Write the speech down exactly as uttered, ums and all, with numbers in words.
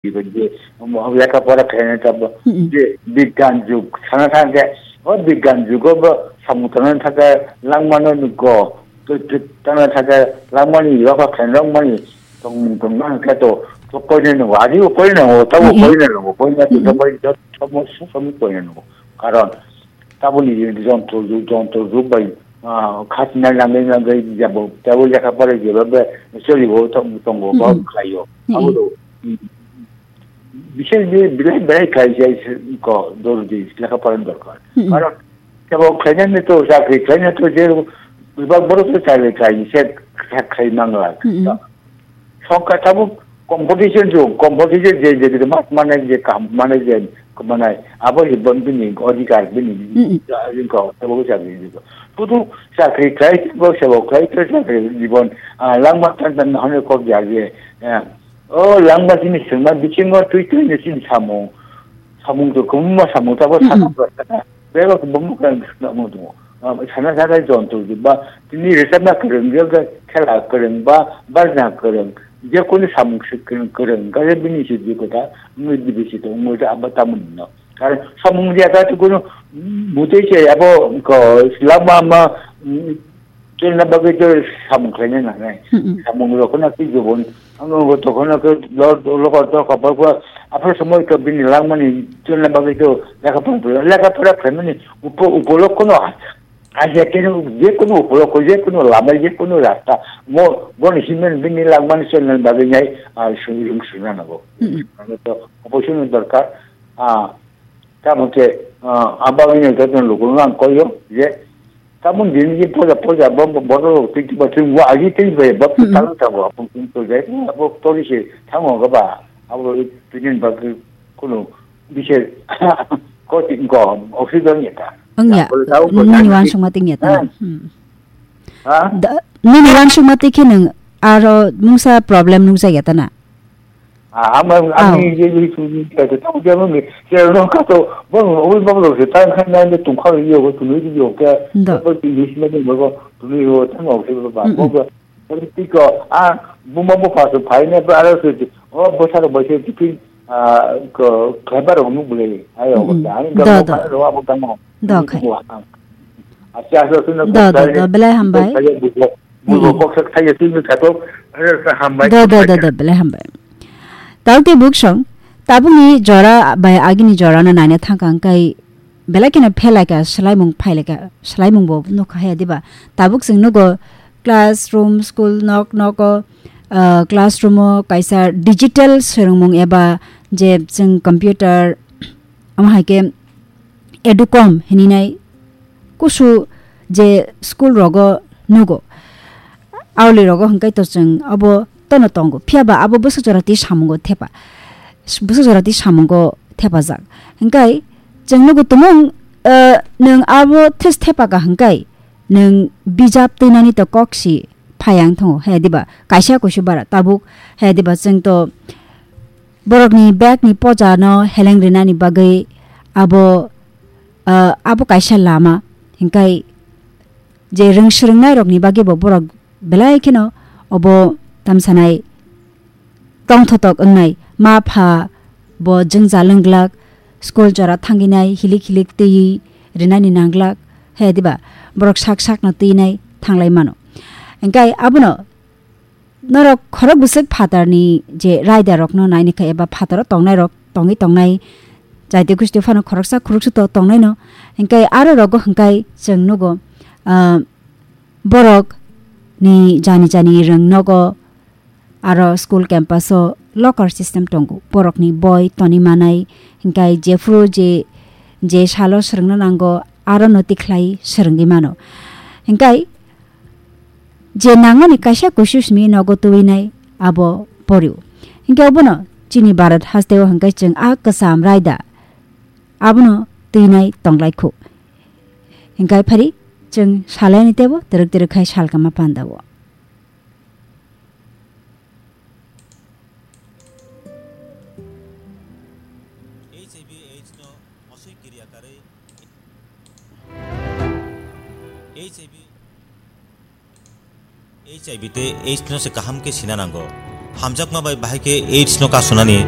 Iben je, um, lekha pora khaina ta bo, Mm-mm. je bigyan jug sana thang khe, o bigyan jugo bo samung tangna thang khe langmano nugo. To, to, tangna thang khe langmani, yoga khaina langmani, tong, tong na khe to, to koine nugo, adi o koine nugo, tabo Mm-mm. koine nugo, koine to, Mm-mm. to koine to, tamo, tamo koine nugo. Karon, taboni jontro, jontro rok bai, ah, khatina nangwi nangwi jabo, tabo lekha pora jeba be, choli bo tong, tongo, ba Mm-mm. khlaio. Mm-mm. Abo do, mm, Bishes je belai belai khlai jai se ko dordi lekha pora ni dorkar. Hmm. Karon kebo khlainani to chakri khlainani to je bebak borok to chakri khlai se kha-, khlai mangla. Hmm. Songkha tabuk competition jo, competition je je ma mane je kam mane je manai abo je bon bini odhikar bini Hmm. ko tabuk chakri ko. Putu chakri khlai bo sebo khlai to chakri jibon, ah, langma tan tan hone kok ja je, ah, O langma chini swngma bisingo twi twi ni chini samung. Samung to kwbangma samung tabuk Mm-mm. sakha bwsakha. Bebak kwbangma kwrwng swngmung tongo. Ah, sana sana jontro di ba tini rwchapna kwrwng, yoga khela kwrwng ba bajna kwrwng, je kunu samung se kwrwng, kwrwng, khe bini se di kota, wngwi di bisi to, wngwi da aba tamoni no. Karon samung ya ta to kunu mutui se abo ko langma ma, mm, Chwlna bagwi to samung khlaina nangnai. Mm-mm. Samung rokno khe jubun. Ang bo tokhono khe lor, lokor to khapar pha. Aphro somoi to bini langmani chwlna bagwi to lekha pora, lekha pora khlaimani upo-, upolokho no a-, aja khe no je kono upolokho, je kono lama, je kono rasta. Mo, bon himen bini langmani chwlna bagwi nai, ah, sung, sung, sungna nango. Mm-mm. Ano to oboisino dorkar. Ah, tamo khe, ah, abagwi no joto lukuno ang koyo je, Tabuk din je poja poja bo, bo, bodo tei ba tei wa agi tei ba ba Mm-mm. talo tabo apun tei to jai abo tori se thango ga ba abo tinin ba kuno bise ko ti ko oxygen ya ta. Wngya, Ya, bole tabo ko nini jai wansukma tingya ta. Eh. Hmm. Ha? Da, nini wansukma tikhe nang aro mungsa problem nukjakya ta na? Ah, ama, Aw. Ami je je tu ni ka ta ta ja mo me. Je no ka to, bo, bo, bo, bo, se ta kha na ne tung kha yo, bo tu ni yo ka. Ndo. Bo tu ni ma ne bo, tu ni yo ta mo se ba, Mm-mm. bo, bo, bo ti ko, ah, bo ma bo pa so phai ne ba ara se, o, bo sa bo se ti ki, ah, ko, kha ba ro mu bole. Ayo, Mm-mm. ta, ani Do, ga do. Mo pa ro, abo ta mo. Do, Ni khai. Ko, ah. Acha, acha, acha, Do, do, do, belai hambai. Acha, acha, acha, Bubo Mm. koksa thaiya twi nukha to, eh, hambai, Do, do, do, hambai. Do, belai hambai. Tao tei buksong, tabukni jora bai agini jorano naina thangkha hwnkhe belai kheno phelaikha, swlaimung phailaikha, swlaimungbo nukha haya diba? Tabuk chwng nugo classroom, school nok nogo, ah, classroomo kaisa digital swrwngmung eba je chwng computer, omo hai khe educom hininai kusu je school rogo nugo. Auli rogo hwnkhe to chwng abo tono tongo. Phiya ba abo bwswk jora twi samungo thepa. Bwswk jora twi samungo thepajak. Hwnkhe chwng nugo tumung, eh, nwng abo thes thepaka hwnkhe nwng bijap twinani to kok si phai ang thango. He diba kaisa kusu bara tabuk he diba chwng to borokni bagni poja no heleng rinani bagwi abo, ah, abo kaisa lama. Hingkai je rwng swrwngnairokni bagwi bo borok belai kheno obo tamsanai tongthotok wngnai. Ma pha bo jwngjal wng glak, school jora thangwi nai hilik hilik twiwi rinani nang glak, he diba borok sak sakno twi nai thanglai mano. Hingkai abono Norok khorok bwswk phatarni je raidarokno naini kha eba phataro tongnairok tongwi tongnai, jaiti gusti phano khoroksa khoroksa to tongnaino. Hinkhe aro rogo hinkhe chwng nugo, ah, borok ni jani jani rwng nogo aro school campus o locker system tongo. Borokni boi toni manai hinkhe jephuru je, je salo swrwngna nango aro no tikhlai swrwngwi mano. Hinkhe Je nangmani kaisa kusu simi nogo tubui nai abo porio. Hinkhe obono chini Bharat hasteo hinkhe chwng a kwcham raida abono twi nai tonglai khu. Hinkhe phari chwng salaini tebo twrwk twrwk khai salkama pandao. H I V AIDS no mosoi kiriya karwi H I V H I V tei AIDS no se kaham khe sina nango. Hamjakma bai bahai khe AIDS no kasunani.